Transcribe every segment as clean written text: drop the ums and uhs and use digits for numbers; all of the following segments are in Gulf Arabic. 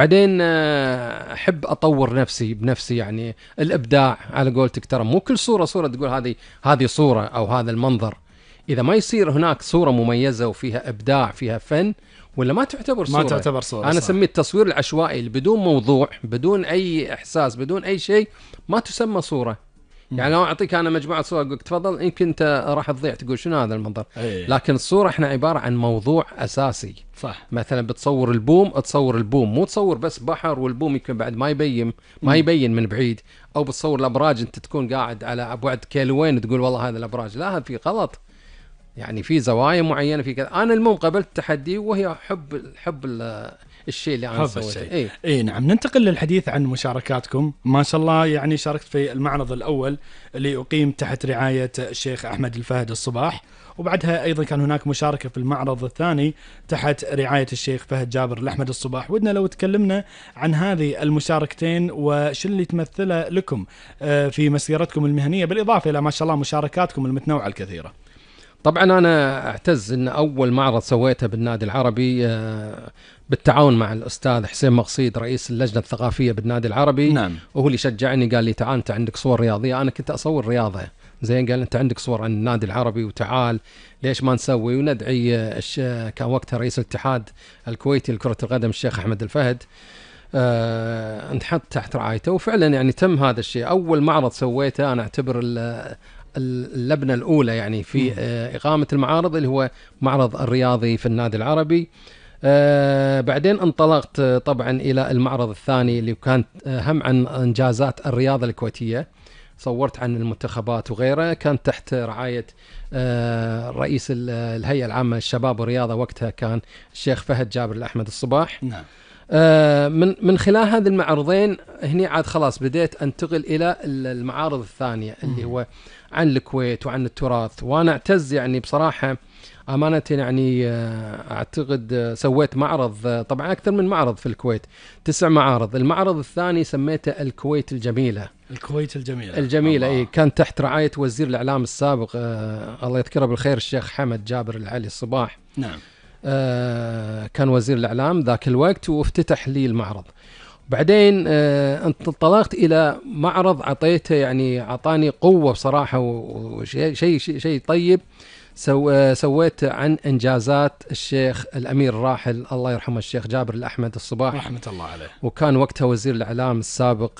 بعدين أحب أطور نفسي بنفسي، يعني الإبداع على قولتك. ترى مو كل صورة تقول هذه صورة أو هذا المنظر. إذا ما يصير هناك صورة مميزة وفيها إبداع فيها فن، ولا ما تعتبر ما صورة. تعتبر صورة. أنا صح. أسميه التصوير العشوائي اللي بدون موضوع، بدون أي إحساس، بدون أي شيء، ما تسمى صورة. يعني لو أعطيك أنا مجموعة صور أقولك تفضل، يمكن أنت راح تضيع تقول شنو هذا المنظر. لكن الصورة إحنا عبارة عن موضوع أساسي. صح. مثلا بتصور البوم، تصور البوم، مو تصور بس بحر والبوم يمكن بعد ما يبين من بعيد. أو بتصور الأبراج أنت تكون قاعد على بعد كيلوين تقول والله هذا الأبراج، لا هذا في غلط. يعني في زوايا معينة في كذا. أنا المهم قبلت التحدي، وهي حب الشيء اللي أنا سويته. إيه نعم. ننتقل للحديث عن مشاركاتكم. ما شاء الله يعني شاركت في المعرض الأول اللي أقيم تحت رعاية الشيخ أحمد الفهد الصباح، وبعدها أيضا كان هناك مشاركة في المعرض الثاني تحت رعاية الشيخ فهد جابر الأحمد الصباح. ودنا لو تكلمنا عن هذه المشاركتين وش اللي تمثله لكم في مسيرتكم المهنية، بالإضافة إلى ما شاء الله مشاركاتكم المتنوعة الكثيرة. طبعا أنا أعتز أن أول معرض سويته بالنادي العربي بالتعاون مع الأستاذ حسين مقصيد رئيس اللجنة الثقافية بالنادي العربي. نعم. وهو اللي شجعني، قال لي تعال أنت عندك صور رياضية. أنا كنت أصور رياضة زين، قال أنت عندك صور عن النادي العربي وتعال ليش ما نسوي وندعي كان وقتها رئيس الاتحاد الكويتي لكرة القدم الشيخ أحمد الفهد نحط تحت رعايته. وفعلا يعني تم هذا الشيء. أول معرض سويته أنا أعتبر اللبنة الأولى يعني في إقامة المعارض، اللي هو معرض الرياضي في النادي العربي. بعدين انطلقت طبعا إلى المعرض الثاني اللي كانت هم عن إنجازات الرياضة الكويتية. صورت عن المنتخبات وغيره، كان تحت رعاية رئيس الهيئة العامة للشباب والرياضة وقتها كان الشيخ فهد جابر الأحمد الصباح. نعم. من خلال هذه المعرضين هني عاد خلاص بديت أنتقل إلى المعارض الثانية اللي هو عن الكويت وعن التراث. وأنا أعتز يعني بصراحة أمانة، يعني أعتقد سويت معرض، طبعا أكثر من معرض في الكويت، 9 معارض. المعرض الثاني سميته الكويت الجميلة. الكويت الجميلة. إيه، كان تحت رعاية وزير الإعلام السابق الله يذكره بالخير الشيخ حمد جابر العلي الصباح. نعم. كان وزير الإعلام ذاك الوقت، وافتتح لي المعرض. بعدين انطلقت إلى معرض عطيته يعني عطاني قوة بصراحة وشيء طيب. سويت عن إنجازات الشيخ الأمير الراحل الله يرحمه الشيخ جابر الأحمد الصباح رحمة الله عليه. وكان وقتها وزير الإعلام السابق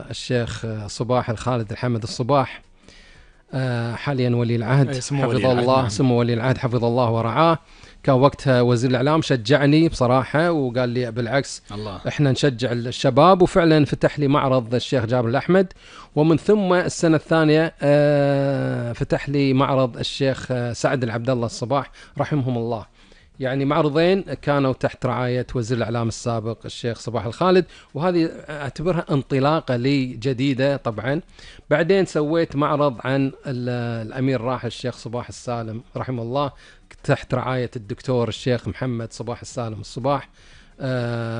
الشيخ صباح الخالد الحمد الصباح، حاليا ولي العهد حفظه الله. سمو ولي العهد حفظه الله ورعاه. كان وقتها وزير الإعلام، شجعني بصراحة وقال لي بالعكس الله. احنا نشجع الشباب. وفعلا فتح لي معرض الشيخ جابر الأحمد. ومن ثم السنة الثانية فتح لي معرض الشيخ سعد العبد الله الصباح رحمهم الله. يعني معرضين كانوا تحت رعاية وزير الإعلام السابق الشيخ صباح الخالد، وهذه أعتبرها انطلاقة لي جديدة. طبعا بعدين سويت معرض عن الأمير راحل الشيخ صباح السالم رحمه الله تحت رعاية الدكتور الشيخ محمد صباح السالم الصباح.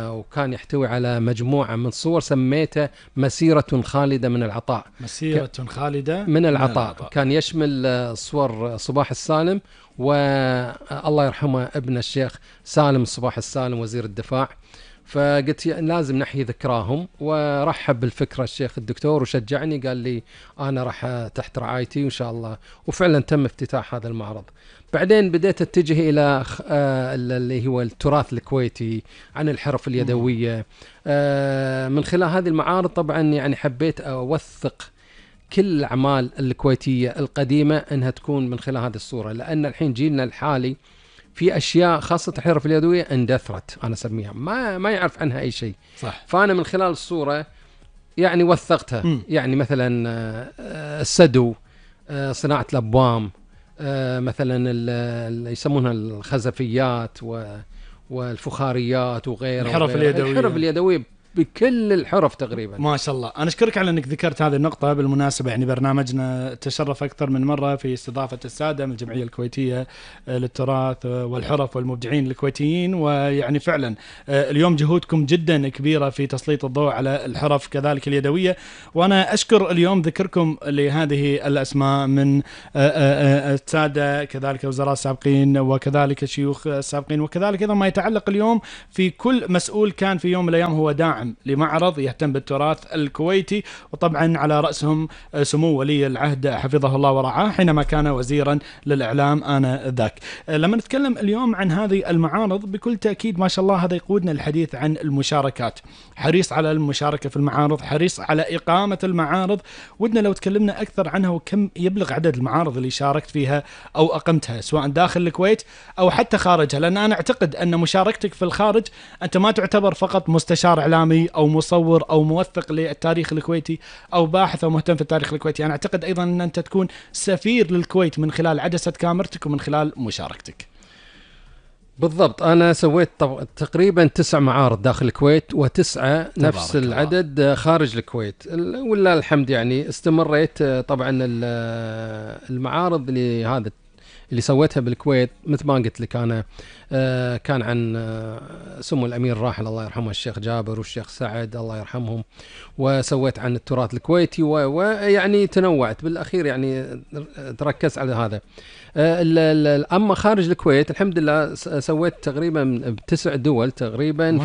وكان يحتوي على مجموعة من صور سميته مسيرة خالدة من العطاء. مسيرة خالدة من العطاء. كان يشمل صور صباح السالم والله يرحمه ابن الشيخ سالم صباح السالم وزير الدفاع. فقلت لازم نحيي ذكراهم، ورحب بالفكرة الشيخ الدكتور وشجعني، قال لي أنا راح تحت رعايتي وإن شاء الله. وفعلا تم افتتاح هذا المعرض. بعدين بديت أتجه إلى اللي هو التراث الكويتي عن الحرف اليدوية. من خلال هذه المعارض طبعا يعني حبيت أوثق كل الأعمال الكويتية القديمة أنها تكون من خلال هذه الصورة، لأن الحين جيلنا الحالي في أشياء خاصة الحرف اليدوية اندثرت أنا أسميها ما يعرف عنها أي شيء. صح. فأنا من خلال الصورة يعني وثقتها. يعني مثلا السدو، صناعة الأبوام، مثلا اللي يسمونها الخزفيات والفخاريات وغيرها. الحرف اليدوية بكل الحرف تقريبا. ما شاء الله. أنا أشكرك على أنك ذكرت هذه النقطة. بالمناسبة يعني برنامجنا تشرف أكثر من مرة في استضافة السادة من الجمعية الكويتية للتراث والحرف والمبدعين الكويتيين، ويعني فعلا اليوم جهودكم جدا كبيرة في تسليط الضوء على الحرف كذلك اليدوية. وأنا أشكر اليوم ذكركم لهذه الأسماء من السادة كذلك وزراء سابقين وكذلك شيوخ سابقين، وكذلك أيضا ما يتعلق اليوم في كل مسؤول كان في يوم من الأيام هو داعم لمعرض يهتم بالتراث الكويتي، وطبعا على رأسهم سمو ولي العهد حفظه الله ورعاه حينما كان وزيرا للإعلام آنذاك. لما نتكلم اليوم عن هذه المعارض بكل تأكيد ما شاء الله هذا يقودنا الحديث عن المشاركات. حريص على المشاركة في المعارض، حريص على إقامة المعارض. ودنا لو تكلمنا أكثر عنها وكم يبلغ عدد المعارض اللي شاركت فيها أو أقمتها سواء داخل الكويت أو حتى خارجها، لأن أنا أعتقد أن مشاركتك في الخارج أنت ما تعتبر فقط مستشار إعلامي أو مصور أو موثق للتاريخ الكويتي أو باحث أو مهتم في التاريخ الكويتي. أنا أعتقد أيضا أن أنت تكون سفير للكويت من خلال عدسة كاميرتك ومن خلال مشاركتك. بالضبط. أنا سويت تقريبا 9 معارض داخل الكويت و9 نفس العدد خارج الكويت، ولا الحمد. يعني استمريت. طبعا المعارض اللي سويتها بالكويت مثل ما قلت لك أنا كان عن سمو الأمير الراحل الله يرحمه الشيخ جابر والشيخ سعد الله يرحمهم، وسويت عن التراث الكويتي ويعني تنوعت بالأخير، يعني تركز على هذا. أما خارج الكويت الحمد لله سويت تقريبا ب9 دول تقريبا،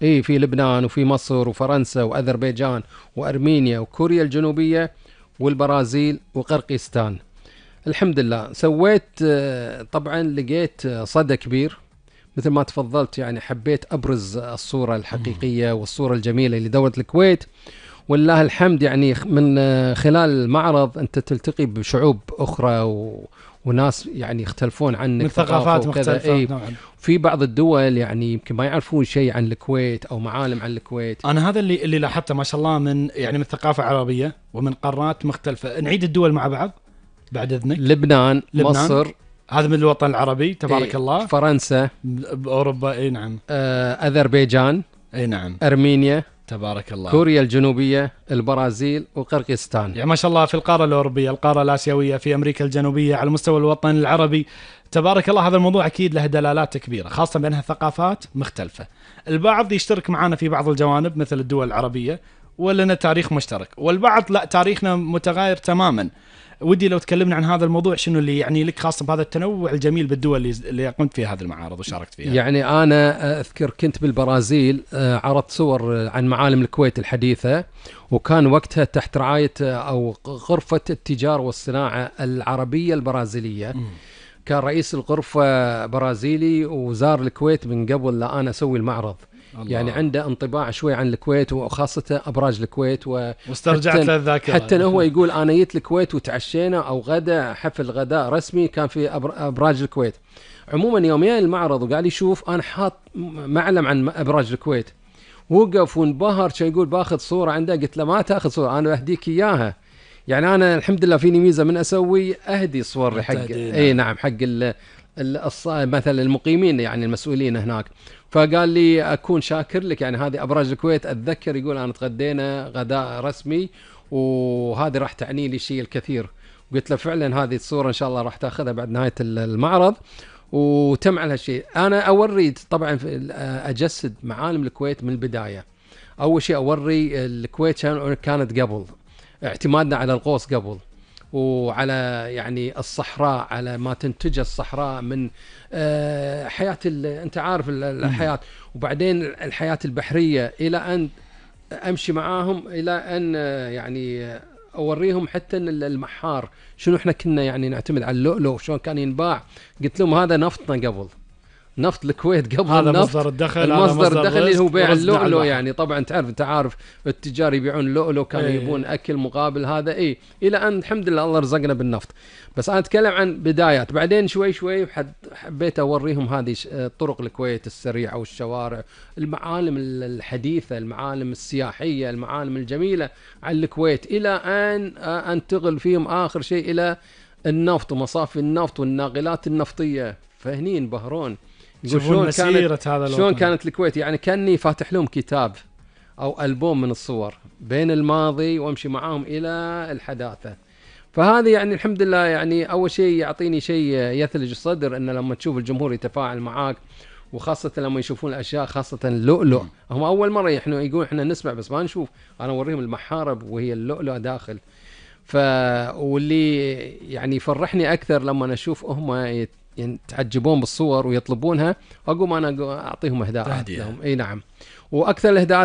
في لبنان وفي مصر وفرنسا وأذربيجان وأرمينيا وكوريا الجنوبية والبرازيل وقرقيزستان. الحمد لله سويت. طبعا لقيت صدى كبير مثل ما تفضلت، يعني حبيت أبرز الصورة الحقيقية والصورة الجميلة لدولة الكويت، والله الحمد. يعني من خلال المعرض أنت تلتقي بشعوب أخرى وناس يعني يختلفون عنك من ثقافات مختلفة. في بعض الدول يعني يمكن ما يعرفون شيء عن الكويت أو معالم عن الكويت. أنا هذا اللي لاحظته ما شاء الله من ثقافة عربية ومن قارات مختلفة. نعيد الدول مع بعض بعد إذنك. لبنان. مصر، هذا من الوطن العربي تبارك الله. فرنسا بأوروبا اي نعم. أذربيجان اي نعم. أرمينيا تبارك الله. كوريا الجنوبية البرازيل وقرقيزستان. يعني ما شاء الله في القارة الأوروبية، القارة الآسيوية، في أمريكا الجنوبية، على مستوى الوطن العربي. تبارك الله. هذا الموضوع أكيد له دلالات كبيرة خاصة بأنها ثقافات مختلفة. البعض يشترك معنا في بعض الجوانب مثل الدول العربية ولنا تاريخ مشترك، والبعض لا تاريخنا متغاير تماما. ودي لو تكلمنا عن هذا الموضوع، شنو اللي يعني لك خاصة بهذا التنوع الجميل بالدول اللي قمت فيها هذه المعارض وشاركت فيها؟ يعني أنا أذكر كنت بالبرازيل، عرضت صور عن معالم الكويت الحديثة، وكان وقتها تحت رعاية أو غرفة التجارة والصناعة العربية البرازيلية. كان رئيس الغرفة برازيلي وزار الكويت من قبل لا أنا أسوي المعرض. الله. يعني عنده انطباع شوي عن الكويت وخاصة أبراج الكويت واسترجعت له الذاكرة. حتى هو يقول أنا جيت الكويت وتعشينا أو غدا حفل غداء رسمي كان في أبراج الكويت. عموما يومين المعرض وقال لي شوف أنا حاط معلم عن أبراج الكويت، وقف وانبهر. كان يقول باخذ صورة عنده، قلت له ما تأخذ صورة أنا أهديك إياها. يعني أنا الحمد لله فيني ميزة من أسوي أهدي صور حق أي نعم حق مثلا المقيمين يعني المسؤولين هناك. فقال لي أكون شاكر لك، يعني هذه أبراج الكويت. أتذكر يقول أنا تغدينا غداء رسمي وهذه راح تعني لي شيء الكثير. قلت له فعلا هذه الصورة إن شاء الله راح تأخذها بعد نهاية المعرض. وتم على هالشيء. أنا أوري طبعا أجسد معالم الكويت من البداية. أول شيء أوري الكويت كانت قبل اعتمادنا على الغوص قبل، وعلى يعني الصحراء، على ما تنتج الصحراء من حياة أنت عارف الحياة، وبعدين الحياة البحرية، إلى أن أمشي معاهم إلى أن يعني أوريهم حتى أن المحار شنو إحنا كنا يعني نعتمد على اللؤلؤ شلون كان ينباع. قلت لهم هذا نفتنا قبل، نفط الكويت قبل هذا النفط. مصدر الدخل، المصدر الدخل اللي هو بيع اللؤلؤ. يعني طبعا انت عارف التجار يبيعون اللؤلؤ، كانوا يبون اكل مقابل هذا الى ان الحمد لله الله رزقنا بالنفط. بس انا اتكلم عن بدايات. بعدين شوي شوي حبيت اوريهم هذه طرق الكويت السريعه والشوارع، المعالم الحديثه، المعالم السياحيه، المعالم الجميله عن الكويت، الى ان انتقل فيهم اخر شيء الى النفط ومصافي النفط والناقلات النفطيه. فهني انبهرون شلون كانت الكويت. يعني كاني فاتح لهم كتاب أو ألبوم من الصور بين الماضي وأمشي معاهم إلى الحداثة. فهذه يعني الحمد لله يعني أول شيء يعطيني شيء يثلج الصدر، إن لما تشوف الجمهور يتفاعل معاك، وخاصة لما يشوفون الأشياء، خاصة اللؤلؤ. هم أول مرة إحنا يقول إحنا نسمع بس ما نشوف، أنا أوريهم المحارب وهي اللؤلؤ داخل. واللي يعني يفرحني أكثر لما أشوف هم يتعجبون بالصور ويطلبونها، أقوم أنا أعطيهم إهداءات لهم. أي نعم. وأكثر الإهداءات